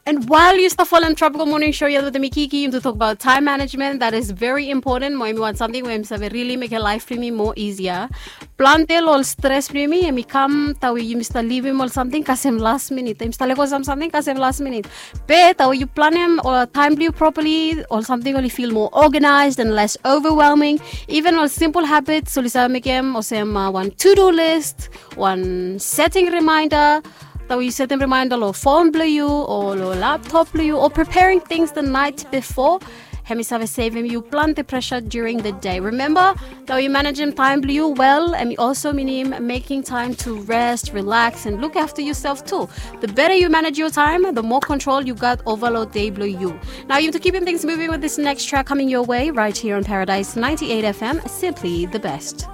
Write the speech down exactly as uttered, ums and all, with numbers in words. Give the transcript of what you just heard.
And while yu stap folem Tropical Morning Show yet wetem mi Kiki, yumi tu tokbaot time management. That is very important. Mo hemi wan samting we hemi save rili mekem laef blong yumi moa easier. Plante lo ol stres blong yumi hemi kam tawe yumi stap livim ol samting kasem las minit. Yumi stap lego sam samting kasem las minit. Be tawe yu planem ol time blong yu properly, ol samting oli feel more organized and less overwhelming. Even ol simple habits oli save mekem olsem uh, wan to-do list, wan setting reminder. Tawe yu setem reminder lo phone blong yu o lo laptop blong yu o preparing things the night before. Hemi save sevem yu plante pressure during the day. Remember, tawe yu managem time blong yu well, hemi also minim making time to rest, relax, and look after yourself too. The better you manage your time, the more control you got over lo day blong yu. Now you to keeping things moving with this next track coming your way right here on Paradise ninety-eight F M, simply the best.